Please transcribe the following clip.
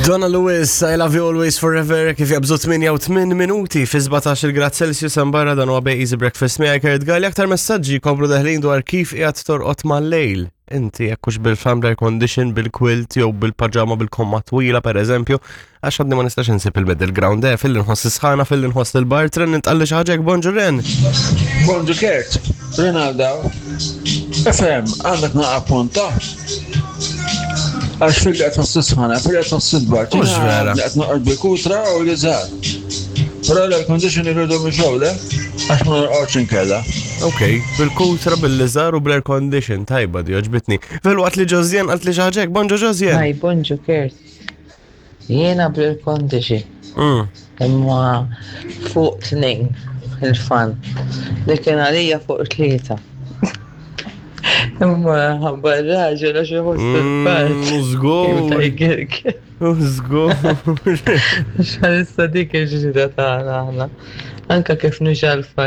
Donna Lewis, I love you always forever, kif jabżu 8 minuti fi 17 il-grad Celsius hemm barra dan huwa Easy Breakfast miegħi Kurt Galli aktar messaġġi jkomplu deħlin dwar kif qiegħed torqod mal-lejl. Inti jekk hux bil-fan air condition, bil-quilt jew bil-paġama bil-komma twila pereżempju, għax għadni ma nistax insib il-middle ground eh, fil nħoss is-sħana, fil nħoss il-bar, tren nintqalli xi ħaġa bonġu Ren. Bonġu Kurt, Rinaldo. FM, għandek naqa punta. Għax fil qed tħoss sħana, fil qed tħoss il-bard. Mhux vera. Qed noqgħod bil-kutra u li żgħar. Però l-air condition irridu mixgħu le, għax ma norqodx inkella. Ok, bil-kutra, bil-liżar u bl-air condition, tajba di oġbitni. Fil-waqt li Ġożjen qalt li xi ħaġa hekk, bonġu Ġożjen. Hi, bonġu Kurt. Jiena bl-air condition. Imma fuq tnejn il-fan. Li kien għalija fuq tlieta. Imma ħabba r-raġel għax iħoss il-bard. Żgur. Żgur. Xalissa dik il-ġrida tagħna aħna. Anka kif nixalfa.